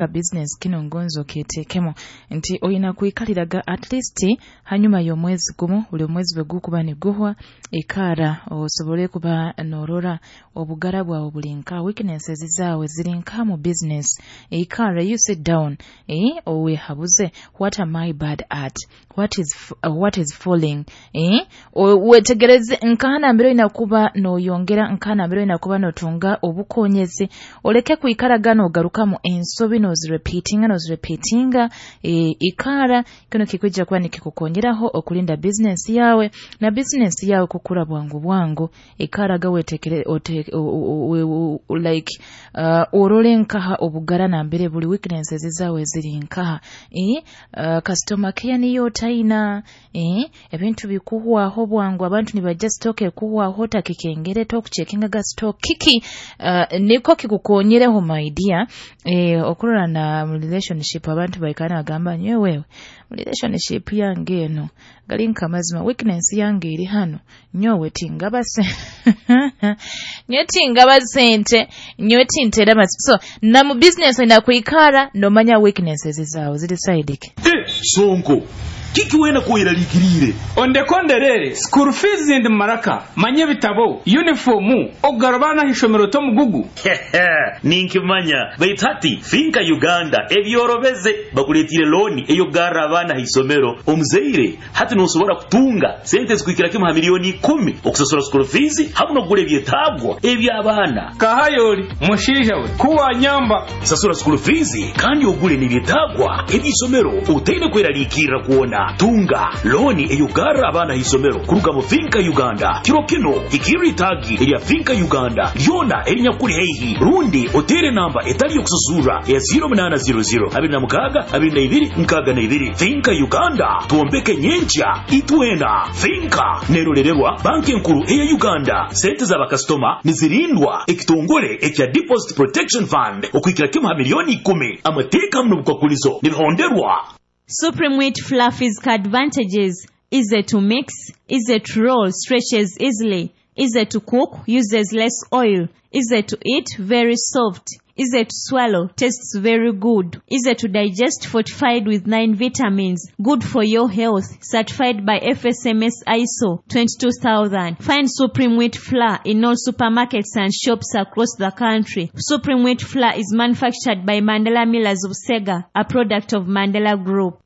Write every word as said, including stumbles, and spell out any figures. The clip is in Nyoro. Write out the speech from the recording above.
Bizinesi kinu ngonze okyeteekemu nti oina kwikaliraga at least hanyuma y'omwezi gumu, buli omwezi bwe gukuba niguhwa, ikara osobole kuba noorora obugara bwawe buli nkaha, weaknesses zaawe ziri nkaha mu bizinesi. Ikara, you sit down, eeh oweehabuze: what am I bad at? What is what is falling? Eeh weetegereze nkaha nambere oina kuba nooyongera, nkaha nambere oina kuba nootunga obukoonyezi, oleke kwikaraga noogarukamu ensobi, noozirepeatinga, noozirepeatinga. Ikara, kinu kikwija kuba nikikukoonyeraho okulinda bizinesi yaawe na bizinesi yaawe kukura bwangu bwangu. Ikaraga weetekere, like orole nkaha obugara nambere buli, weaknesses zaawe ziri nkaha, customer care niyo otaina, ebintu bikuhwaho bwangu, abantu nibaija stock ekuhwaho otakikengere, tokucekingaga stock, kiki? Nikwo kikukoonyereho, my dear. Okurora na mu relationship abantu baikara nibagamba, "Nyowe mu relationship yange enu, gali nk'amazima, weakness yange eri hanu, nyowe tingaba nyowe tingaba sente, nyowe tinteera amasimu." So na mu bizinesi oina kwikara noomanya weaknesses zaawe ziri side ki. Sonko, kiki wena kweraliikiriire? Ondekonderere school fees, ndi maraka manye ebitabo, uniform, okugara abaana ah'ishomero tomugugu. Ninkimanya, baitu hati FINCA Uganda ebyorobeze, bakuleetire looni ey'okugarra abaana ha isomero. Omuzaire hati noosobora kutunga sente zikuhikira kimu ha miliyoni ikumi okusasura school fees hamu n'okugura ebyetaagwa eby'abaana. Kahayoli mushaija we kuwanyamba. Sasura school fees kandi ogule n'ebyetaagwa eby'isomero otaine kweraliikirra kwona. Tunga looni ey'okugarra abaana ha isomero kuruga mu FINCA Uganda. Kiro kino hikirra itaagi erya FINCA Uganda lyona erinyakuli haihi, rundi oteere namba etali y'okusasurra eya zero munaana zero zero abiri na mukaaga abiri na ibiri nkaaga na ibiri. FINCA Uganda, twombeke nyenkya itwena. FINCA nerolererwa Banki Enkuru eya Uganda. Sente z'abakasitoma nizirindwa ekitongole ekya Deposit Protection Fund okuhikira kimu ha miliyoni ikumi. Amateeka hamu n'obukwakulizo nibihonderwa. Supreme Wheat Flour physical advantages: easy to mix, easy to roll, stretches easily, easy to cook, uses less oil, easy to eat, very soft, easy to swallow, tastes very good, easy to digest, fortified with nine vitamins, good for your health, certified by F S M S I S O twenty-two thousand. Find Supreme Wheat Flour in all supermarkets and shops across the country. Supreme Wheat Flour is manufactured by Mandela Millers of Sega, a product of Mandela Group.